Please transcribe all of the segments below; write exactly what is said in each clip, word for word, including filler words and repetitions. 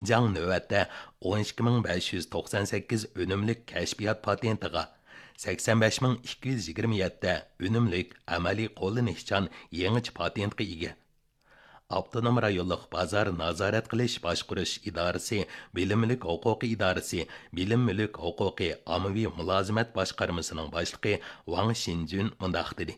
شىنجاڭ نۆۋەتتە ئون ئىككى مىڭ بەش يۈز توقسان سەككىز ئۈنۈملۈك كەشپىيات پاتېنتىغا، سەكسەن بەش مىڭ ئىككى يۈز يىگىرمە يەتتە ئۈنۈملۈك ئەمەلىي قوللىنىشچان يېڭىچە پاتېنتقا ئىگە. ئاپتونوم رايونلۇق بازار نازارەت قىلىش باشقۇرۇش ئىدارىسى، بىلىم مۈلۈك ھوقۇقى ئىدارىسى، بىلىم مۈلۈك ھوقۇقى ئاممىۋى مۇلازىمەت باشقارمىسىنىڭ باشلىقى ۋاڭ شىنجۈن مۇنداق دېدى: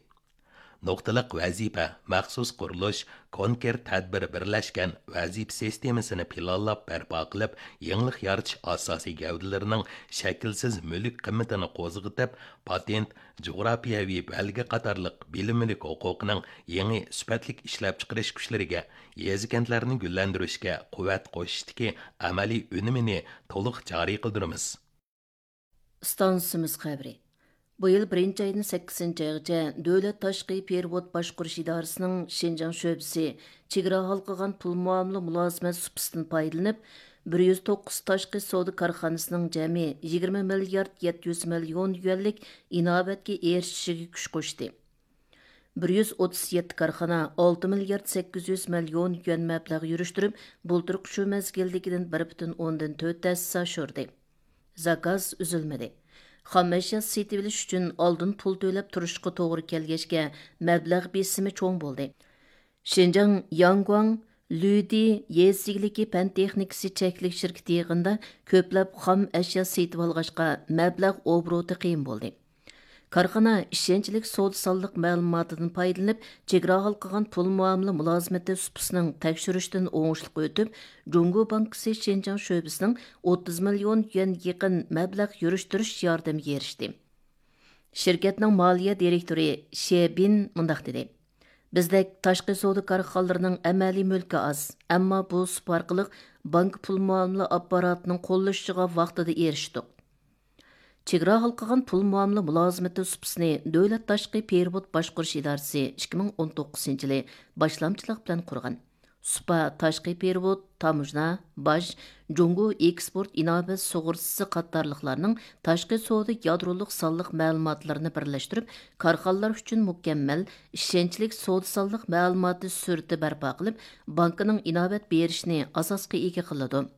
نۇقتىلىق ۋەزىپە، مەخسۇس قۇرۇلۇش، كونكرېت تەدبىر بىرلەشكەن ۋەزىپە سىستېمىسىنى پىلانلاپ بەرپا قىلىپ، يېڭىلىق يارىتىش ئاساسىي گەۋدىلىرىنىڭ شەكىلسىز مۈلۈك قىممىتىنى قوزغىتىپ، پاتېنت، جۇغراپىيەۋى بەلگە قاتارلىق بىلىم مۈلۈك ھوقۇقىنىڭ يېڭى سۈپەتلىك ئىشلەپچىقىرىش كۈچلىرىگە، يېزا-كەنتلەرنى گۈللەندۈرۈشكە قۇۋۋەت قوشۇشتىكى ئەمەلىي ئۈنۈمىنى تولۇق جارى قىلدۇرىمىز. ئىستانسىمىز خەۋىرى. بۇ يىل بىرىنچى ئايدىن سەككىزىنچى ئايغىچە دۆلەت تاشقى پېرېۋوت باشقۇرۇش ئىدارىسىنىڭ شىنجاڭ شۆبىسى چېگرا ھالقىغان پۇل مۇئامىلە مۇلازىمەت سۇپىسىدىن پايدىلىنىپ، بىر يۈز توققۇز تاشقى سودا كارخانىسىنىڭ جەمئىي يىگىرمە مىليارد يەتتە يۈز مىليون يۈەنلىك ئىناۋەتكە ئېرىشىشىگە كۈچ قوشتى. بىر يۈز ئوتتۇز يەتتە كارخانا ئالتە مىليارد سەككىز يۈز مىليون يۈەن مەبلەغ يۈرۈشتۈرۈپ، بۇلتۇرقى شۇ مەزگىلدىكىدىن بىر پۈتۈن ئوندىن تۆت ھەسسە ئاشۇردى. زاكاز ئۈزۈلمىدى. خام ئەشيا سېتىۋېلىش ئۈچۈن ئالدىن پۇل تۆلەپ تۇرۇشقا توغرا كەلگەچكە، مەبلەغ بېسىمى چوڭ بولدى. شىنجاڭ ياڭگۇاڭ لۈدى يېزا ئىگىلىكى پەن تېخنىكىسى چەكلىك شىركىتى يىغىندا كۆپلەپ خام ئەشيا سېتىۋالغاچقا، مەبلەغ ئوبوروتى قىيىن بولدى. كارخانا ئىشەنچلىك سودا سانلىق مەلۇماتىدىن پايدىلىنىپ، چېگرا ھالقىغان پۇل مۇئامىلە مۇلازىمىتى سۇپىسىنىڭ تەكشۈرۈشتىن ئوڭۇشلۇق ئۆتۈپ، جۇڭگو بانكىسى شىنجاڭ شۆبىسىنىڭ ئوتتۇز مىليون يۈەن يېقىن مەبلەغ يۈرۈشتۈرۈش ياردىمىگە ئېرىشتى. شىركەتنىڭ مالىيە دىرېكتورى شې بىن مۇنداق دېدى: بىزدەك تاشقى سودا كارخانىلىرىنىڭ ئەمەلىي مۈلكى ئاز، ئەمما بۇ سۇپا ئارقىلىق بانكا پۇل مۇئامىلە ئاپپاراتىنىڭ قوللىشىشىغا ۋاقتىدا ئېرىشتۇق. چېگرا ھالقىغان پۇل مۇئامىلە مۇلازىمىتى سۇپىسىنى دۆلەت تاشقى پېرېۋوت باشقۇرۇش ئىدارىسى ئىككى مىڭ ئون توققۇزىنچى يىلى باشلامچىلىق بىلەن قۇرغان. سۇپا تاشقى پېرېۋوت، تاموژنا، باج، جۇڭگو ئېكسپورت ئىناۋەت سۇغۇرتىسى قاتارلىقلارنىڭ تاشقى سودا يادرولۇق سانلىق مەلۇماتلىرىنى بىرلەشتۈرۈپ، كارخانىلار ئۈچۈن مۇكەممەل، ئىشەنچلىك سودا سانلىق مەلۇماتى سۈرىتى بەرپا قىلىپ، بانكىنىڭ ئىناۋەت بېرىشىنى ئاساسقا ئىگە قىلىدۇ.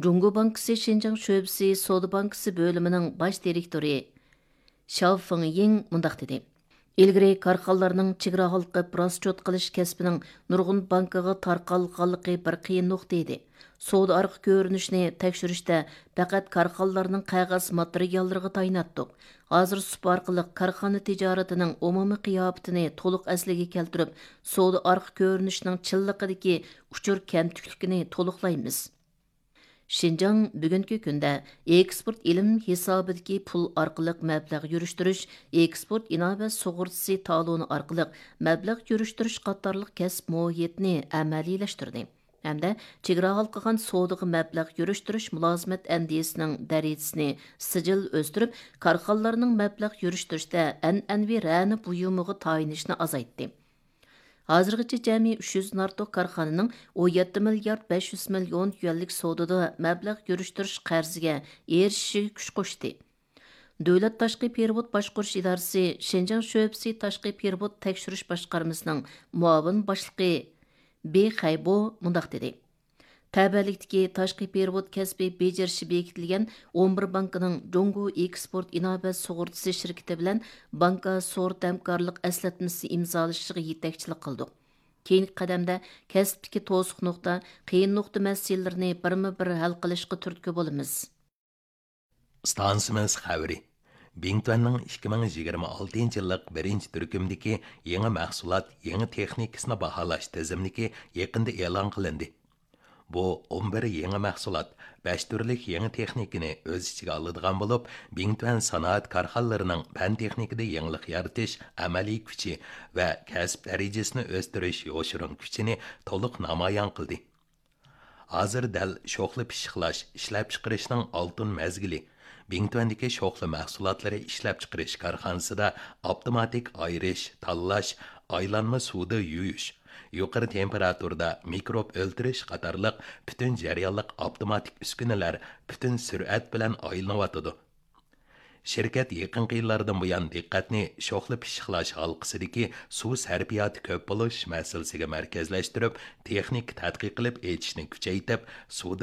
جۇڭگو بانكىسى شىنجاڭ شۆبىسى سودا بانكىسى بۆلۈمىنىڭ باش دىرېكتورى شياۋ فېڭيىڭ مۇنداق دېدى: ئىلگىرى كارخانىلارنىڭ چېگرا ھالقىپ راسچوت قىلىش كەسپىنىڭ نۇرغۇن بانكىغا تارقالغانلىقى بىر قىيىن نۇقتا ئىدى. سودا ئارقا كۆرۈنۈشىنى تەكشۈرۈشتە پەقەت كارخانىلارنىڭ قەغەز ماتېرىياللىرىغا تايىناتتۇق. ھازىر سۇپا ئارقىلىق كارخانا تىجارىتىنىڭ ئومۇمىي قىياپىتىنى تولۇق ئەسلىگە كەلتۈرۈپ، سودا ئارقا كۆرۈنۈشىنىڭ چىنلىقىدىكى ئۇچۇر كەمتۈكلۈكىنى تولۇقلايمىز. شىنجاڭ بۈگۈنكى كۈندە ئېكسپورت ئېلىم ھېسابىدىكى پۇل ئارقىلىق مەبلەغ يۈرۈشتۈرۈش، ئېكسپورت ئىناۋەت سۇغۇرتىسى تالونى ئارقىلىق مەبلەغ يۈرۈشتۈرۈش قاتارلىق كەسىپ مۇھىتىنى ئەمەلىيلەشتۈردى ھەمدە چېگرا ھالقىغان سودىغا مەبلەغ يۈرۈشتۈرۈش مۇلازىمەت ئەندىزىسىنىڭ دەرىجىسىنى سىجىل ئۆستۈرۈپ، كارخانىلارنىڭ مەبلەغ يۈرۈشتۈرۈشتە ئەنئەنىۋى رەنە بۇيۇمىغا تايىنىشنى ئازايتتى. ھازىرغىچە جەمئىي ئۈچ يۈزدىن ئارتۇق كارخانىنىڭ ئون يەتتە مىليارد بەش يۈز مىليون يۈەنلىك سودىدا مەبلەغ يۈرۈشتۈرۈش قەرزىگە ئېرىشىشىگە كۈچ قوشتى. دۆلەت تاشقى پېرېۋوت باشقۇرۇش ئىدارىسى شىنجاڭ شۆبىسى تاشقى پېرېۋوت تەكشۈرۈش باشقارمىسىنىڭ مۇئاۋىن باشلىقى بې خەيبو مۇنداق دېدى: تەۋەلىكتىكى تاشقى پېرېۋوت كەسپى بېجىرىشى بېكىتىلگەن ئون بىر بانكىنىڭ جۇڭگو ئېكسپورت ئىناۋەت سۇغۇرتىسى شىركىتى بىلەن بانكا سورت ھەمكارلىق ئەسلەتمىسى ئىمزالىشىشىغا يېتەكچىلىك قىلدۇق. كېيىنكى قەدەمدە كەسىپتىكى توسۇق نۇقتا، قىيىن نۇقتا مەسىلىلىرىنى بىرمۇ بىر ھەل قىلىشقا تۈرتكە بولىمىز. ئىستانسىمىز خەۋىرى. بىڭتۈەننىڭ ئىككى مىڭ يىگىرمە ئالتىنچى يىللىق بىرىنچى تۈركۈمدىكى يېڭى مەھسۇلات، يېڭى تېخنىكىسىنى باھالاش تىزىملىكى يېقىندا ئېلان قىلىندى. بۇ ئون بىر يېڭى مەھسۇلات، بەش تۈرلۈك يېڭى تېخنىكىنى ئۆز ئىچىگە ئالىدىغان بولۇپ، بىڭتۈەن سانائەت كارخانىلىرىنىڭ پەن تېخنىكىدا يېڭىلىق يارىتىش ئەمەلىي كۈچى ۋە كەسىپ دەرىجىسىنى ئۆستۈرۈش يوشۇرۇن كۈچىنى تولۇق نامايان قىلدى. ھازىر دەل شوخلا پىششىقلاش، ئىشلەپچىقىرىشنىڭ ئالتۇن مەزگىلى. بىڭتۈەندىكى شوخلا مەھسۇلاتلىرى ئىشلەپچىقىرىش كارخانىسىدا ئاپتوماتىك ئايرىش، تاللاش، ئايلانما سۇدا يۇيۇش، يۇقىرى تېمپېراتۇرىدا مىكروب ئۆلتۈرۈش قاتارلىق پۈتۈن جەريانلىق ئاپتوماتىك ئۈسكۈنىلەر پۈتۈن سۈرئەت بىلەن ئايلىنىۋاتىدۇ. شىركەت يېقىنقى يىللاردىن بۇيان دىققەتنى شوخلا پىششىقلاش ھالقىسىدىكى سۇ سەرپىياتى كۆپ بولۇش مەسىلىسىگە مەركەزلەشتۈرۈپ، تېخنىكا تەتقىق قىلىپ ئېچىشنى كۈچەيتىپ، سۇدا